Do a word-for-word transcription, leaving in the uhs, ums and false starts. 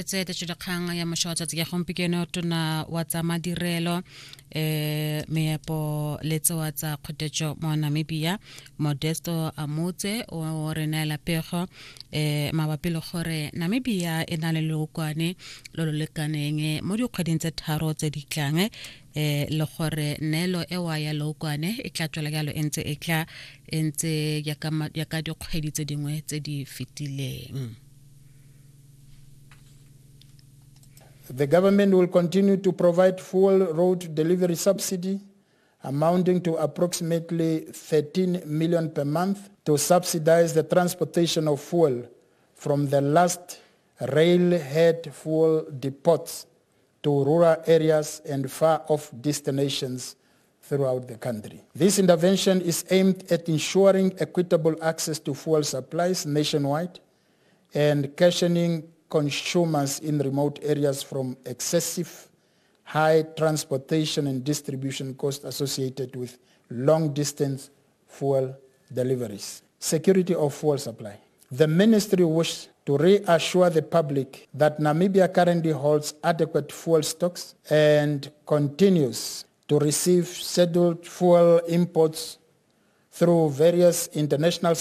reeditse tetšodikgang ya mošwa wa tsatsi ya gompieno tona wa tsa madirelo um meepo le tsewa tsa kgotetšo mo Namibia Modesto Amutse o re neela pego um mabapi le gore Namibia e na le leokwane lo lo lekaneng mo dikgweding tse tharo tse di tlang eh le gore neelo ewa ya leokwane e tla tswela jalo e ntse e tla e ntse jaaka dikgwedi tse dingwe tse di fetileng. The government will continue to provide fuel road delivery subsidy amounting to approximately thirteen million per month to subsidize the transportation of fuel from the last railhead fuel depots to rural areas and far-off destinations throughout the country. This intervention is aimed at ensuring equitable access to fuel supplies nationwide and cushioning consumers in remote areas from excessive high transportation and distribution costs associated with long-distance fuel deliveries. Security of fuel supply. The ministry wishes to reassure the public that Namibia currently holds adequate fuel stocks and continues to receive scheduled fuel imports through various international